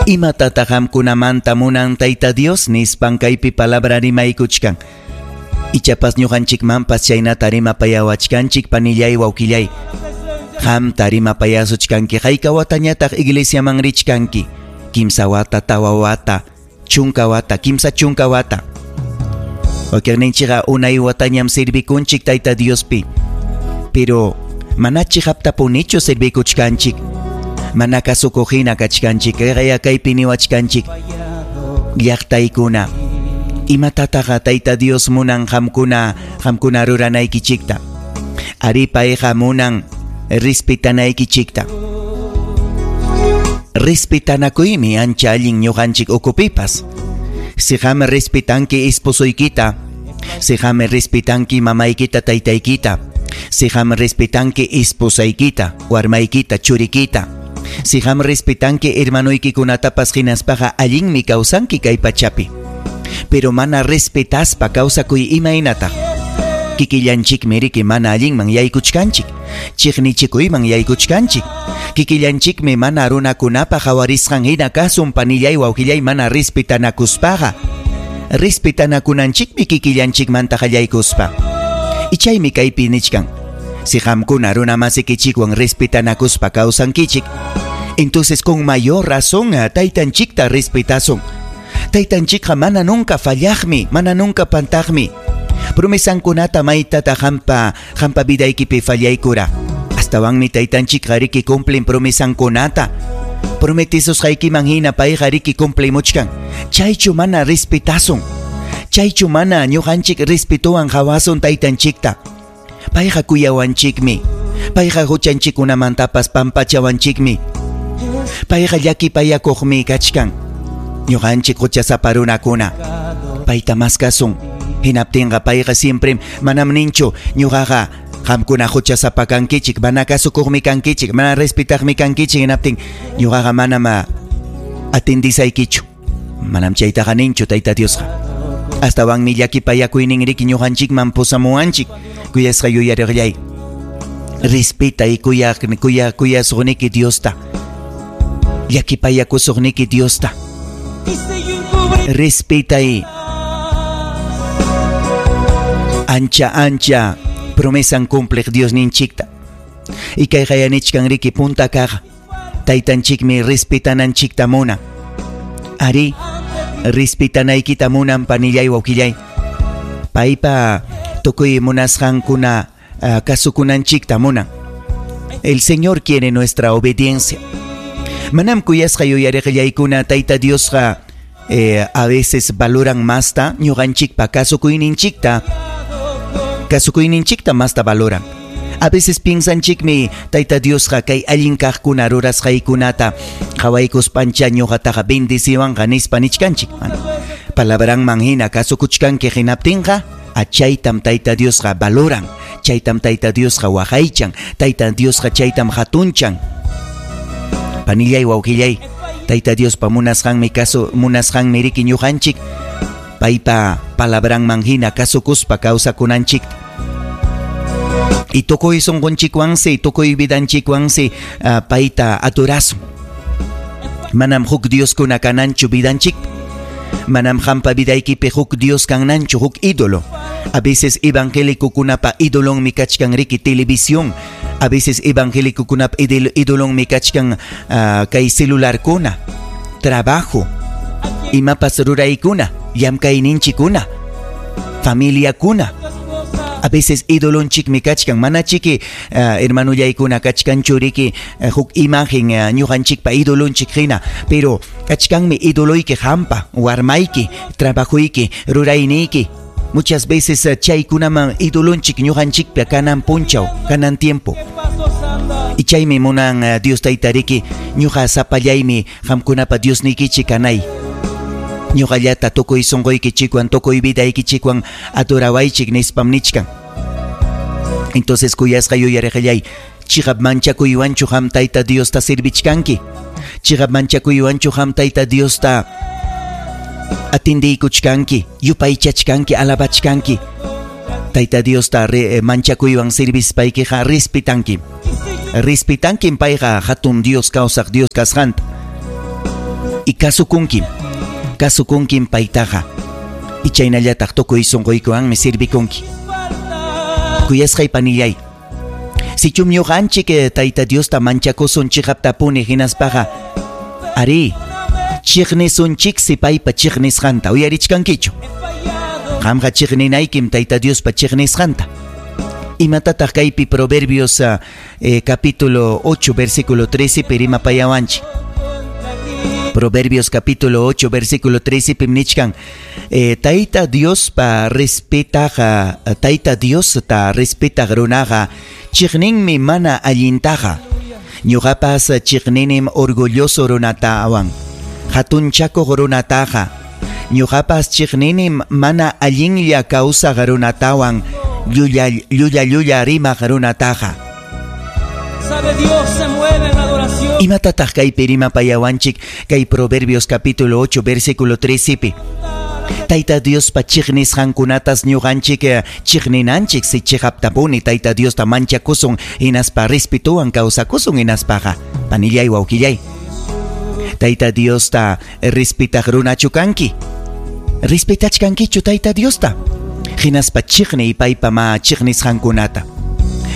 Imatataq qamkunamanta munan Tayta Dios nispan kaypi palabra rimaykuchkan. Ichapas ñuqanchikmanpas chaynata rimapayawachkanchik panillay wawqillay. Qamta rimapayasuchkanki hayka watañataq iglesiaman richkanki. Kimsa wata, tawa wata, chunka wata, kimsa chunka wata. Wakiqninchikqa unay watañam servikunchik Tayta Diospi. Pero mana chiqaptapunichu servikuchkanchik. Mana kasukuq hina kachkanchik, kayqaya kaypi niwachkanchik. Llaqtaykuna, imatataqa Tayta Dios munan qamkuna, qamkuna ruranaykichikta. Ari payqa munan respetanaykichikta. Respetanakuymi ancha allin ñuqanchik ukupipas. Si qam respetanki esposoykita, si qam respetanki mamaykita taytaykita, si qam respetanki esposaykita, warmaykita, churikita, si qam respetanki hermanoykikunatapas hinaspaqa allinmi kawsanki kay pachapi. Pero mana respetaspa kawsakuy imaynataq. Kikillanchikmi riki mana allinman yaykuchkanchik, chiqnichikuyman yaykuchkanchik. Kikillanchikmi mana runakunapa qawarisqan hina kasun panillay wawqillay mana respetanakuspaqa. Respetanakunanchikmi kikillanchikmanta qallaykuspa. Ichaymi kaypi nichkan. Si qamkuna runamasikichikwan respetanakuspa kawsankichik, entonces con mayor razón taytanchikta respetasun. Taytanchikqa mana nunca fallaqmi, mana nunca pantaqmi. Promesankunata maytata qampa, qampa vidaykipi fallaykura. Astawanmi taytanchikqa riki cumplen promesankunata. Prometisusqaykiman hina payqa riki cumplimuchkan. Chaychu mana respetasun. Chaychu mana ñuqanchik respetuwan qawasun taytanchikta. Payqa kuyawanchikmi. Payqa huchanchikkunamantapas pampachawanchikmi. Payqa llakipayakuqmi kachkan. Ñuqanchik huchasapa runakuna. Payta maskasun. Hinaptinqa payqa siempre manam ninchu ñuqaqa qamkuna huchasapa kankichik, mana kasukuqmi kankichik, mana respetaqmi kankichik hinaptin ñuqaqa manam atendisaykichu. Manam chaytaqa ninchu Tayta Diosqa. Astawanmi llakipayakuynin riki ñuqanchikman pusamuwanchik. Kuyasqa yuyariqllay. Respetay kuyaq kuya kuyasuqniki Diosta. Llakipayakusuqniki Diosta. Respetay ancha ancha promesan cumpliq Diosninchikta. Y kayqa yanichkan riki punta kaq taytanchikmi respetananchikta munan. Ari respetanaykita munan panillay wawqillay. Paypa tukuy munasqankuna kasukunanchikta munan. El Señor quiere nuestra obediencia. Manam kuyasqa yuyariqillaykuna Tayta Diosqa a veces valoran masta ñuqanchikpa kasukuyninchikta. Kasukuyninchikta masta valoran. A veces piensanchikmi Tayta Diosqa kay allin kaqkuna rurasqaykunata qhawaykuspancha ñuqataqa bendeciwanqa nispa nichkanchik. Palabranman hina kasukuchkanki hinaptinqa achaytam Tayta Diosqa valoran, chaytam Tayta Diosqa waqaychan, Tayta Diosqa chaytam hatunchan. Panillay wawqillay, Tayta Diospa munasqanmi kasu munasqanmi riki ñuqanchik paypa palabranman hina kasukuspa kawsakunanchik. Y tukuy sunqunchikwansi, tukuy vidanchikwansi payta adorasun. Manam huk Dioskuna kananchu vidanchik. Manam qampa vidaykipi huk Dios kananchu, huk ídolo. A veces evangélicokunapa ídolonmi kachkan riki televisión. A veces evangélicokunapa ídolonmi kachkan kay celularkuna, trabajo, imapas ruraykuna, llamkayninchikuna, familiakuna. A veces ídolonchikmi kachkan, mana chiki hermanullaykuna kachkanchu riki huk imagen ñuqanchikpa ídolonchik hina, pero kachkanmi ídoloyki qampa, warmayki, trabajoyki, rurayniyki. Muchas veces chaykunaman ídolonchik ñuqanchikpa kanan punchaw, kanan tiempo. Y chaymi munan Dios Tayta riki ñuqa sapallaymi qamkunapa Diosniykichik kanay. Ñuqallata tukuy sunquykichikwan, tukuy vidaykichikwan adorawaychik nispam nichkan. Entonces kuyasqa yuyariqillay, chiqap manchakuywanchu qam Tayta Diosta servichkanki. Chiqap manchakuywanchu qam Tayta Diosta atindiykuchkanki, yupaychachkanki, alabachkanki. Tayta Diosta manchakuywan servispaykiqa respetanki. Respetankim payqa hatun Dios kawsaq Dios kasqanta. Y kasukunkim, kasukunkim paytaqa. Y chaynallataq tukuy sunquykiwanmi sirvikunki. Kuyasqay panillay, sichum ñuqanchik Tayta Diosta manchakusun chiqaptapuni hinaspaqa, arí, chiqnisunchiksi paypa chiqnisqanta. Uyarichkankichu? Qamqa chiqninaykim Tayta Diospa chiqnisqanta. Imatataq kaypi Proverbios capítulo 8 versículo 13 pi rimapayawanchik? Proverbios capítulo 8 versículo 13 pim nichkan, Tayta Diospa respetaqa, Tayta Diosta respetaq runaqa chiqninmi mana allintaqa. Ñuqapas chiqninim orgulloso runatawan, hatunchakuq runataqa. Ñuqapas chiqninim mana allinlla kawsaq runatawan, llulla llulla llulla rimaq runataqa. Sabe, Dios se mueve en la adoración. Imatataq kaypi rimapayawanchik kay Proverbios capítulo 8 versículo 13 pi? Tayta Diospa chiqnisqankunatas ñuqanchik chiqninanchik si chiqaptapuni Tayta Diosta manchakusun hinaspa respetuwan kawsakusun hinaspaqa. Panillay, wawqillay, Tayta Diosta respetaq runachu kanki? Respetachkankichu Tayta Diosta? Hinaspa chiqniy paypa ma chiqnisqankunata.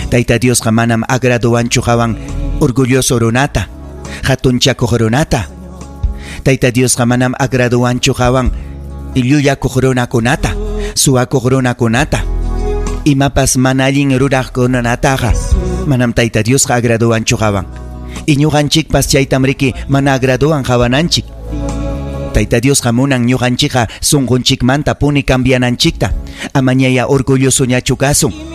Tayta Diosqa manam agraduwanchu qawan orgulloso runata, hatunchakuq runata. Tayta Diosqa manam agraduwanchu qawan llullakuq runakunata, suwakuq runakunata. Imapas mana allin ruraqkunataqa manam Tayta Diosqa agraduwanchu qawan. Y ñuqanchikpas chaytam riki mana agraduwan qawananchik. Tayta Diosqa munan ñuqanchikqa sunqunchikmanta puni cambiananchikta. Amañaya orgullosoñachu kasun.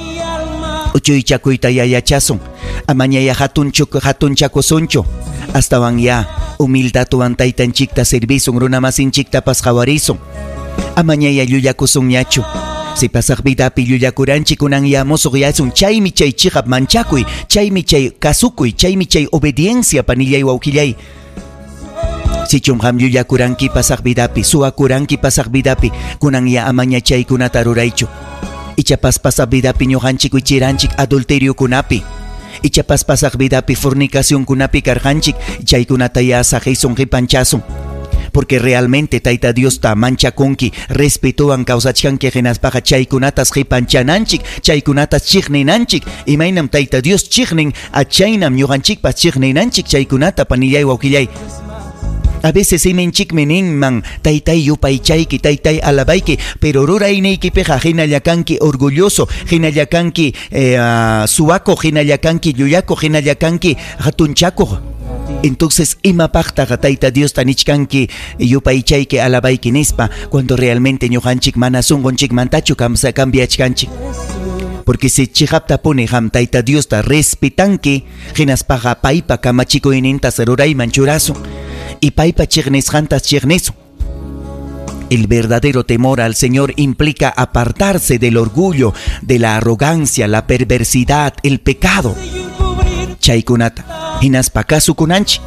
Uchuychakuyta yachasun. Amañaya hatunchakusunchu. Astawan ya humildadwan taytanchikta servisun, runamasinchiktapas qhawarisun. Amañaya llullakusunñachu. Si pasaq vidapi llullakuranchik kunan ya musuqyasun, chaymi chay chiqap manchakuy, chaymi chay kasukuy, chaymi chay obediencia, panillay, wawqillay. Sichum qam llullakuranki pasaq vidapi, suwakuranki pasaq vidapi, kunan ya amaña chaykunata ruraychu. Ichapas pasaq vidapi ñuqanchik wichiranchik adulteriokunapi. Ichapas pasaq vidapi fornicacionkunapi karqanchik, chaykunata ya saqisun qipanchasun. Porque realmente Tayta Diosta manchakunki, respetuwan kawsachkanki hinaspaqa chaykunatas qipanchananchik, chaykunatas chiqninanchik. Imaynam Tayta Dios chiqnin, achaynam ñuqanchikpas chiqninanchik chaykunata, panillay, wawqillay. A veces siminchikmi ninman, taytay yupaychayki, taytay alabayki, pero rurayniykipiqa hinalla kanki orgulloso, hinalla kanki suwakuq, hinalla kanki llullakuq, hinalla kanki hatunchakuq. Entonces, imapaqtaqa Tayta Diosta nichkanki yupaychayki, alabayki nispa, cuando realmente ñuqanchik mana sunqunchikmantachu cambiachkanchik. Porque si chiqaptapuni qam Tayta Diosta respetanki, hinaspaqa paypa kamachikuynintas rurayman churasun y paypa chiqnisqantas chiqnisun. El verdadero temor al Señor implica apartarse del orgullo, de la arrogancia, la perversidad, el pecado. Chaykunata hinaspa kasukunanchik.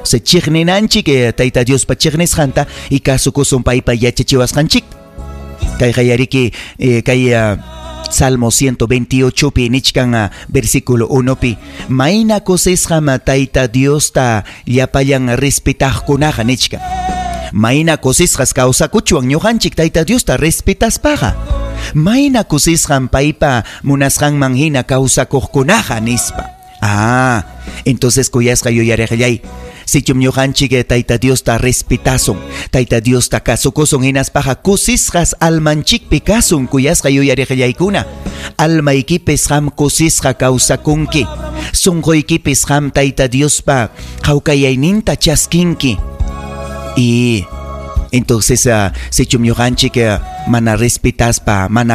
Se chiqninanchik Tayta Diospa chiqnisqanta y kasukusun paypa yachachiwasqanchik. Kay qayariki kay Salmo 128 pi nichkan versículo 1 pi, mayna kusisqam Tayta Diosta llapallan respetaqkunaqa nichkan. Mayna kusisqas kawsakuchwan ñuqanchik Tayta Diosta respetaspaqa. Mayna kusisqam paypa munasqanman hina kawsakuqkunaqa nispa. Ah, entonces kuyasqa yuyariqllay, sichum ñuqanchik Tayta Diosta respetasun, Tayta Diosta kasukusun hinaspaqa kusisqas almanchikpi kasun, kuyasqa yuyariqllaykuna. Almaykipis qam kusisqa kawsakunki, sunquykipis qam Tayta Diospa hawkayayninta chaskinki. Y entonces sichum ñuqanchik mana respetaspa, mana